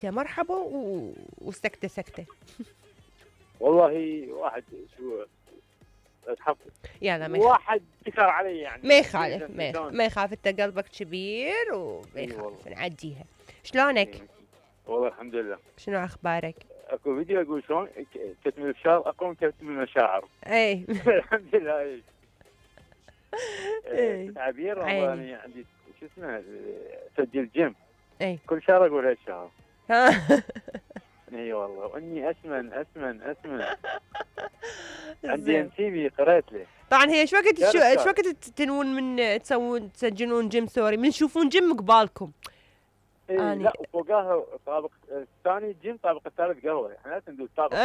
مرحبا وسكتة سكتة. والله واحد شو اتحفظ يلا ما واحد ذكر علي يعني ما يخالف ما يخالف، انت قلبك كبير وما يخالف نعديها. شلونك؟ والله الحمد لله. شنو اخبارك؟ اكو فيديو اقول شلون كتم الفشار اقوم كتم المشاعر. اي الحمد لله. اي تعبير والله عندي شو اسمه سجل جيم. اي كل شهر اقول هالشهر. ها اي والله واني اسمن عندي انسيبي قريت له. طبعا هي ايش وقت تنون من تسجلون جيم سوري من تشوفون جيم قبالكم؟ إيه لا وفوقاها طابق الثاني جيم طابق الثالث قهوه، احنا لا ندوس طابق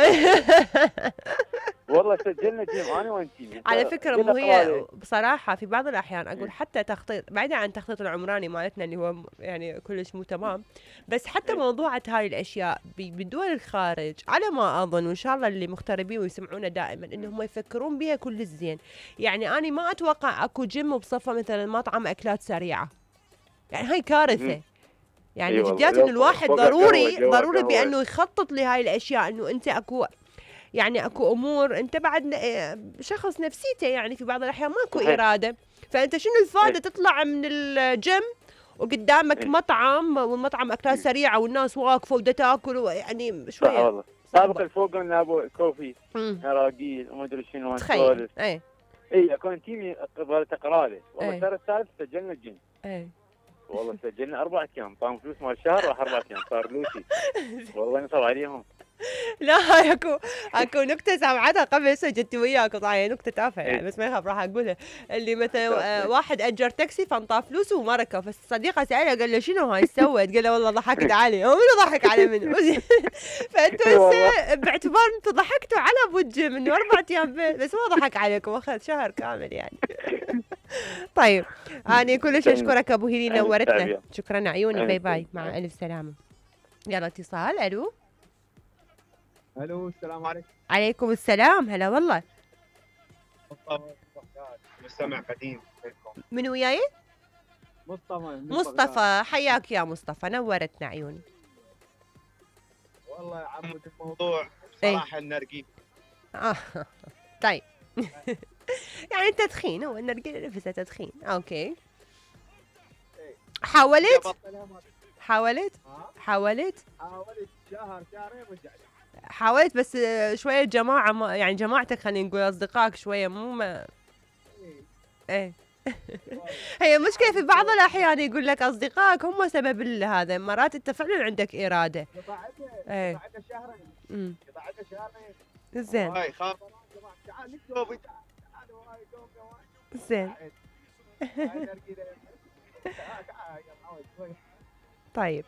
والله سجلنا جيم انا وانتي. على فكره مو هي بصراحه في بعض الاحيان اقول حتى تخطيط بعيدا عن التخطيط العمراني مالتنا اللي هو يعني كلش مو تمام، بس حتى موضوعة هاي الاشياء بدول الخارج على ما اظن، وان شاء الله اللي مغتربين ويسمعونا دائما انهم يفكرون بها كل الزين. يعني انا ما اتوقع اكو جيم بصفه مثلا مطعم اكلات سريعه، يعني هاي كارثه. يعني جديات انه الواحد ضروري بانه يخطط لهاي الاشياء، انه انت اكو يعني اكو امور انت بعد شخص نفسيته يعني في بعض الاحيان ماكو اراده، فانت شنو الفائده تطلع من الجيم وقدامك مطعم والمطعم اكلات سريعه والناس واقفه ودا تاكل يعني شويه. والله سابق الفوق قلنا ابو كوفي هراقيل وما ادري شنو تخيل. اي اكون تيمي ظلت اقرا له والله الشهر الثالث سجلنا الجيم. والله سجلنا 4 ايام طعم فلوس مال الشهر راح 4 ايام صار لوسي. والله نصب عليهم. لا هاي اكو نكته سامعتها قبل سجلت وياك طبعا نكته تافهه يعني بس ما يخاف راح اقولها. اللي مثلا واحد اجر تاكسي فانطاه فلوس وما ركب، فالصديقه سالها قال له شنو هاي سوت؟ قال له والله ضحكت علي. هو منو ضحك على منو؟ فانتوا هسه باعتبار انتوا ضحكتوا على ابو الجيم انه 4 ايام بس ما ضحك عليكم، اخذ شهر كامل يعني. طيب انا كلش اشكرك ابو هيلي نورتنا. شكرا عيوني. باي باي مع الف سلامه. يلا اتصال. الو السلام عليكم. عليكم السلام. هلا والله. مستمع قديم. من وياي؟ مصطفى. حياك يا مصطفى نورتنا عيوني. والله يا عمود الموضوع صراحه النرجيل. طيب يعني التدخين هو النرجيل نفسه تدخين. اوكي حاولت شهرين رجعت. حاولت بس شويه جماعه يعني جماعتك خلينا نقول اصدقائك شويه مو ايه هي مشكله في بعض الاحيان يقول لك اصدقائك هم سبب هذا، مرات انت فعلا عندك اراده. قطعتها شهرين. زين زين طيب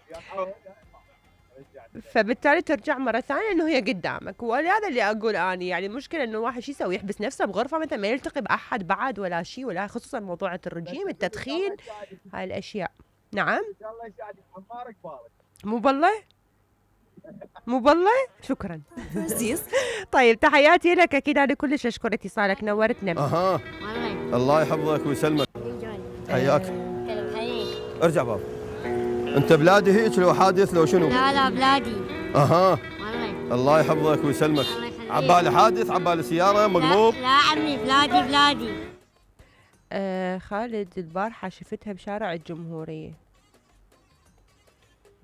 فبالتالي ترجع مرة ثانية انه هي قدامك، ولهذا اللي اقول اني يعني المشكلة انه الواحد شو يسوي؟ يحبس نفسه بغرفة مثلا ما يلتقي باحد بعد ولا شيء، ولا خصوصا موضوع الرجيم التدخين هاي الاشياء. نعم ان شاء الله يساعدك حمارك بارك. مو بالله شكرا. طيب تحياتي لك اكيد انا كلش اشكر اتصالك نورتنا. الله يحفظك ويسلمك. حياك. ارجع بابا. انت بلادي هيك لو حادث لو شنو؟ لا بلادي. الله يحفظك ويسلمك. عبالي حادث عبالي سيارة مقلوب. لا عمي بلادي. خالد البارحة شفتها بشارع الجمهورية،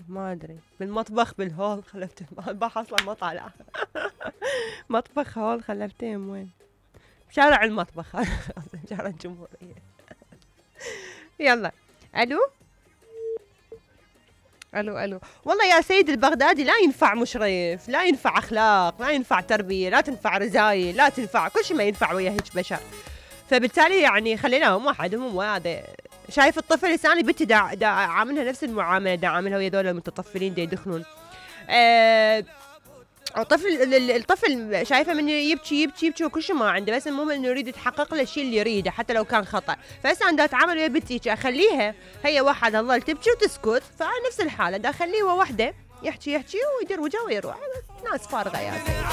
ما ادري بالمطبخ بالهول خلفتها البارحة اصلا ما طالعة. مطبخ هول خلفتهم وين؟ بشارع المطبخ. شارع الجمهورية. يلا الو والله يا سيد البغدادي لا ينفع مشرف، لا ينفع اخلاق، لا ينفع تربيه، لا تنفع رزايل، لا تنفع كل شيء ما ينفع ويا هيك بشر. فبالتالي يعني خليناهم وحدهم وهذا. شايف الطفل لساني بنتي دا عاملها نفس المعامله دا عاملها ويا ذول المتطفلين دا يدخلون. الطفل شايفه من يبكي وكل شيء ما عنده، بس المهم انه يريد يتحقق له الشيء اللي يريده حتى لو كان خطا. فهسه انا دا اتعامل ويا بنتي اخليها هي واحده تظل تبكي وتسكت، فانا نفس الحاله دا اخليه وحده يحكي ويدير وجهه ويروح. ناس فارغه يا سيدي.